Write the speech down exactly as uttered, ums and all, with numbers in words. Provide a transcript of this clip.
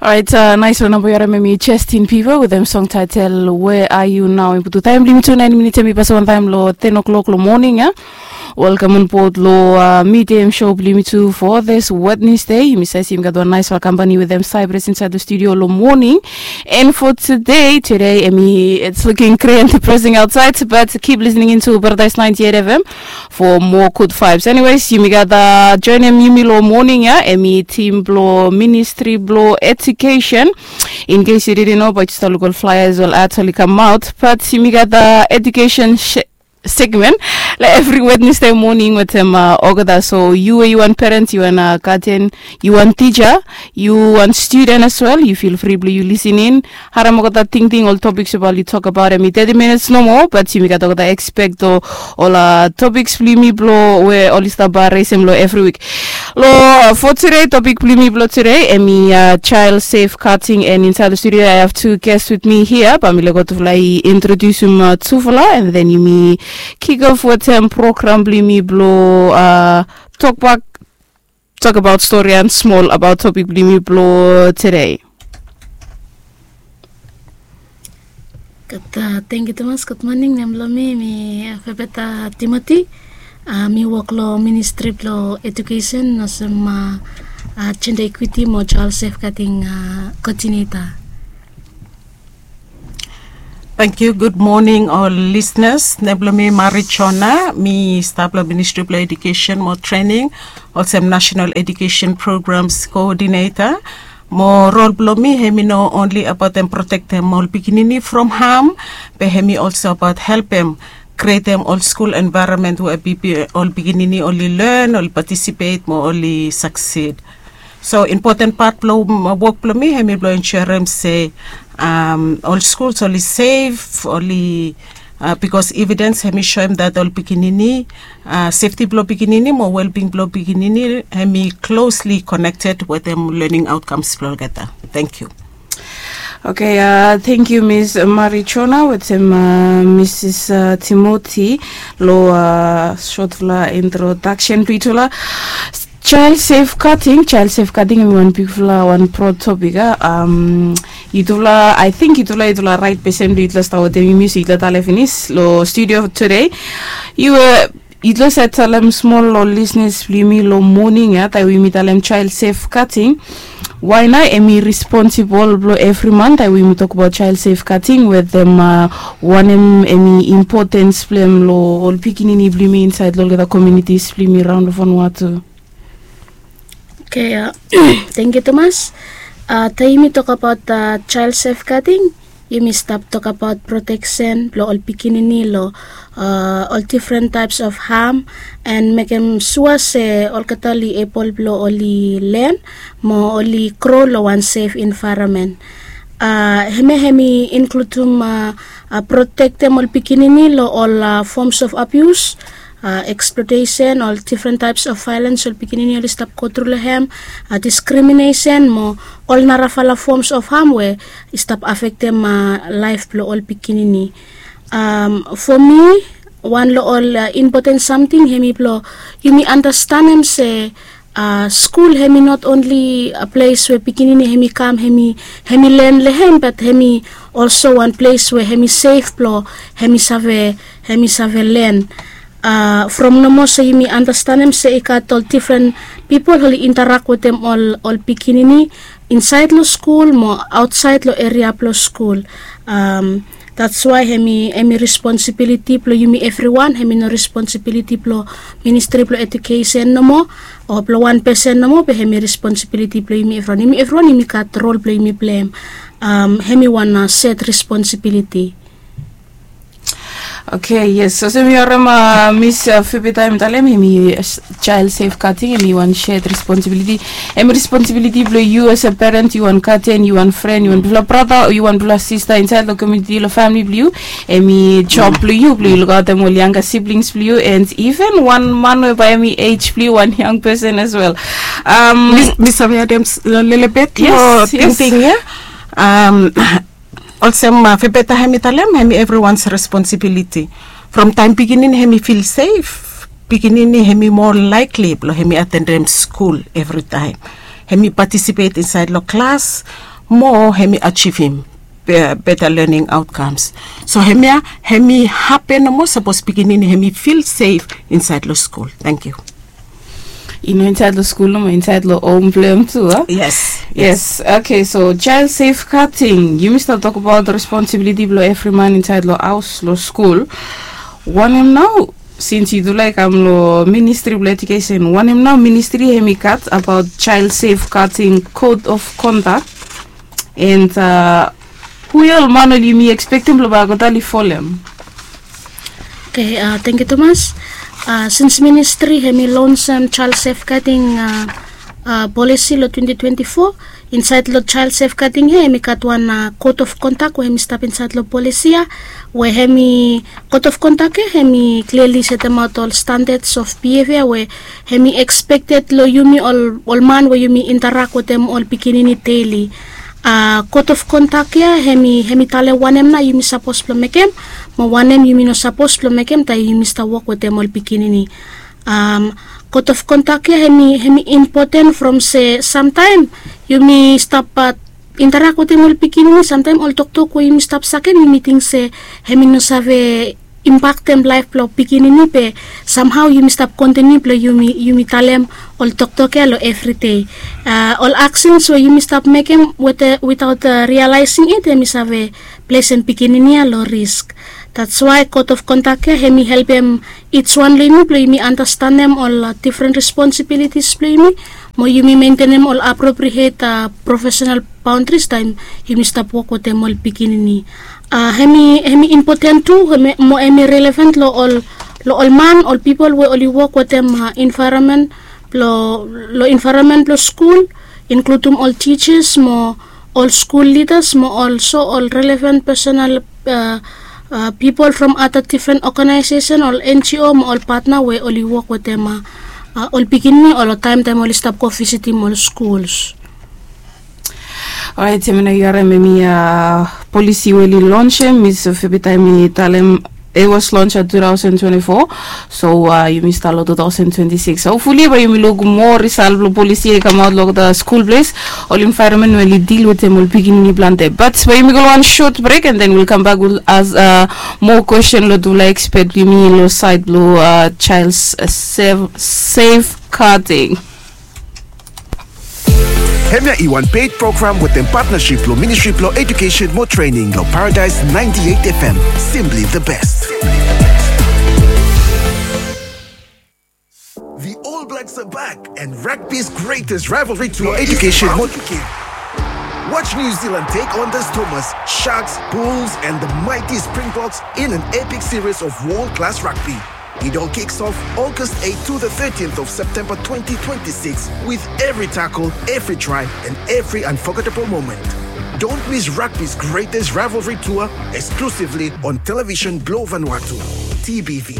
Orait, nais long namba yu harim em i Justin Bieber wetem song taetel Where Are You Now. I putum taem blong yumi tu naen minit, em i pasaon taem long ten o'clock long moning ya. Welcome on board long midem show blong yumi tu for this Wednesday. Yumi save se yumi gat wan naispela kampani wetem Cyprus insaed long studio long moning. And for today, today em i, it's looking gray and depressing outside, but keep listening into Paradise ninety-eight F M for more good vibes. Anyways, yumi gat joinim yumi long moning ya, em i tim blong Ministry blong Education. In case yu didn't know, but yu stap luk ol flyers, ol ads oli kamaot. But yumi gat education segment long evri Wednesday moning wetem olgeta. So yu we yu wan parent, yu wan guardian, yu wan tija, yu wan student as well, yu feel free blong yu listening. Harim olgeta tingting, ol topics we bae oli tokbaot, em i thirty minutes nomo, but yumi gat olgeta expect o ol topics blong yumi blong we oli stap resem long evri wik. Long for today, topic blong yumi blong today em i child safeguarding, and insaed long studio I have two guests with me here. Bae mi laik olgeta i introdusim tufala, and then yumi kick off wetem program blong yumi blong tokbak, tokbaot stori and smol abaot topic blong yumi blong today. Gud, tangkiu tumas. Gud moning. Nem blong mi em i Febeta Timothy. Mi wok long Ministri blong Edukesen olsem jenda ikwiti mo jael sefgading koodineta. Tangkiu. Gud moning ol lisnas. Nem blong mi Mari Jona. Mi stap long Ministri blong Edukesen mo Trening olsem Nasenal Edukesen Programs Koodineta. Mo rol blong mi hem i no onli abaot em protektem ol pikinini from ham, be hem i olso abaot helpem krietem ol skul envaeronmen we ol pikinini oli len, oli patisipet mo oli saksid. So impoten pat blong wok blong mi hem i blong ensurem se ol skuls oli sef, oli bikos evidens hem i soem dat ol pikinini, sefti blong pikinini mo welbing blong pikinini hem i klosli konekted wetem lening aotkams blong olgeta. Tangkiu. Oke, tangkiu Miss Mari Jona wetem Misis Timothy long sotfala introdaksen blong yutufala. Jael sefgading, jael sefgading em i wan bigfala wan brod topik a. Yutufala, I think yutufala, yutufala raet pesen blong yutufala stap wetem yumi, so yutufala talem finis long studio today. Yu yutufala save talem smol long lisnas blong yumi long moning ya, taem we yumi talem jael sefgading, wae nao em i responsibol blong evri man taem we yumi tokbaot jael sefgading wetem wanem em i impotens blong em long ol pikinini blong yumi insaed long olgeta komunitis blong yumi raon long Vanuatu. Oke, tangkiu tumas. Taem yumi tokbaot jael sefgading, yumi stap tokbaot proteksen blong ol pikinini long ol difren taeps of ham, and mekem sua se olgeta oli ebol blong oli len mo oli gro long wan sef envaeronmen. Hemia hem i inkludim protektem ol pikinini long ol forms of abius, eksplotesen, ol difren taeps of vaelens ol pikinini oli stap gotru long hem, diskriminesen mo ol narafala forms of ham we i stap afektem laef blong ol pikinini. Fo mi, wan long ol impoten samting hem i blong yumi andastanem se skul hem i not onli ples we pikinini hem i kam hem i len long hem, bat hem i olso wan ples we hem i sef blong hem i save, hem i save len. From nomo se yumi andastanem se i gat ol difren pipol oli interak wetem ol pikinini insaed long skul mo aotsaed long eria blong skul. Dats wae hem i responsibiliti blong yumi evriwan, hem i no responsibiliti blong Ministri blong Edukesen nomo o blong wan pesen nomo, be hem i responsibiliti blong yumi evriwan. Yumi evriwan yumi gat rol blong yumi pleim. Hem i wan set responsibiliti. Oke, yes, olsem yu harim Mis Febeta hem i talem, hem i jael sefgading hem i wan set responsibiliti. Hem i responsibiliti blong yu as a peren, yu wan gaden, yu wan fren, yu wan bigfala brata o yu wan bigfala sista insaed long komuniti, long famili blong yu. Hem i job blong yu blong yu lukaotem ol yanga siblings blong yu, and iven wan man we bae hem i ej blong yu, wan yang pesen as well. Mi save adem lelebet long tingting ya. Olsem Febeta hem i talem, hem i evriwans responsibiliti. From taem pikinini hem i fil sef, pikinini hem i moa laekli blong hem i atendem skul evritaem. hemi patisipet insaed long klas mo hemi ajivim beta lening aotkamas. So hemia hemi hapen nomo sapos pikinini hemi fil sef insaed long skul. Tangkiu. I no insaed long skul nomo, insaed long hom blong hem tu a? Yes. Yes. Okay, so child safeguarding, yumi stap tokbaot responsibiliti blong evri man insaed long haos, long skul. Wanem nao, sins yu tu laik kam long ministri blong ejukesen, wanem nao ministri hemi gat abaot child safeguarding code of conduct? And uh, hu ya ol man oli yumi ekspektem blong bae olgeta oli folem? Okay, uh, tangkiu tumas. Uh, sins ministri hemi lonsem child safeguarding uh, uh, polisi long twenty twenty-four, insaed long child safeguarding ya hemi gat wan uh, code of conduct we hemi stap insaed long polisi ya, we hemi code of conduct ya hemi clearly setemaot ol standards of behavior we hemi expected long yumi ol, ol man we yumi interact wetem ol pikinini daily. Uh, code of conduct ya hemi, hemi talem wanem nao yumi sapos blong mekem mo wanem yumi no sapos blong mekem taem yumi stap wok wetem ol pikinini. Um, code of conduct ya hemi, hemi impoten from se samtaem yumi stap uh, interact wetem ol pikinini, samtaem ol toktok we yumi stap sakem yumi ting se hemi no save impaktem laef blong pikinini be samhao yumi stap kontiniu blong yumi, yumi talem ol toktok ya long evride. Uh, ol aksens we yumi stap mekem wetaot uh, realaesing it hemi save plesem pikinini ya long risk. That's why code of conduct ya hemi helpem ijwan long yumi blong yumi andastanem ol uh, difren responsibilitis blong yumi mo yumi mentenem ol apropriet uh, profesenal baondaris taem yumi stap wok wetem ol pikinini. Uh, hemi, hemi impoten tu mo hemi relevan long ol, long ol man, ol pipol we oli wok wetem uh, envaeronmen blong, long envaeronmen blong skul, inkludum ol tijas mo ol skul lidas mo olso ol relevan personal uh, uh, pipol from ada difren oganaesesen, ol N G O mo ol patna we oli wok wetem uh, uh, ol pikinini ol taem taem oli stap go visitim ol skuls. Orait, hemia nao yu harem hemia uh, polisi we oli lonsem, mi save betaem mi talem, it was launched at two thousand twenty-four. So uh, yumi stap long two thousand twenty-six. Hopefully bae yumi luk moa risal blong polisi ya i kamaot long olgeta skul ples, ol envaeronmen we oli dil wetem ol pikinini plante. Bat bae yumi go long wan sot brek and then we'll come back with as uh, moa kwestin long tufala ekspet blong yumi long saed blong uh, child uh, safe, safeguarding. Hemia i wan paid program wetem patnasip blong Ministri blong Ejukesen mo Trening long Paradise ninety-eight F M. Simply the best. The All Blacks are back, and rugby's greatest rivalry tour, Ejukesen mo Trening. Watch New Zealand take on the Stormers, Sharks, Bulls, and the mighty Springboks in an epic series of world-class rugby. It all kicks off August eighth to the thirteenth of September twenty twenty-six, with every tackle, every try, and every unforgettable moment. Don't miss rugby's greatest rivalry tour, exclusively on Television Blue Vanuatu, T B V.